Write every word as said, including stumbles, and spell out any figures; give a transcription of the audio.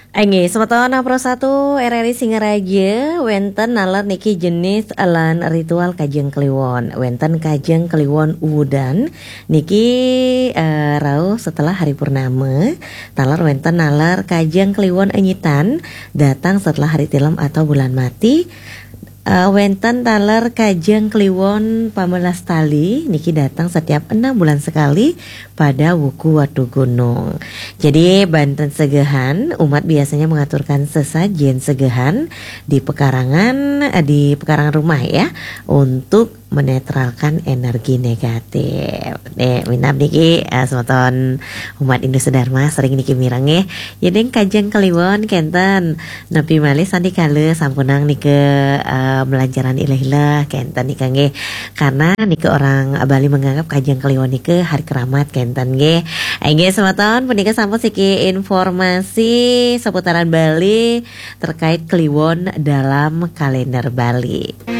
Inggih, semeton Pro satu R R I Singaraja, wenten naler niki jenis lan ritual Kajeng Kliwon. Wenten Kajeng Kliwon Udan niki eh, rauh setelah hari purnama, taler wenten naler Kajeng Kliwon Enyitan datang setelah hari Tilem atau bulan mati. Eh, wenten taler Kajeng Kliwon Pamelas Tali niki datang setiap enam bulan sekali pada wuku Watu Gunung. Jadi banten segehan, umat biasanya mengaturkan sesajen segehan di pekarangan, eh, di pekarangan rumah ya, untuk menetralkan energi negatif. Nih, minab niki eh, semeton umat Hindu sedharma sering niki mireng nggih. Yading Kajeng Kliwon kenten, nepi malih sandikala sampunang nika eh, melancaran ilah-ilah kenten nika nggih. Karena nika orang Bali menganggap Kajeng Kliwon nika hari keramat kenten nggih. Inggih semeton, punika sampun siki informasi seputaran Bali terkait Kliwon dalam kalender Bali.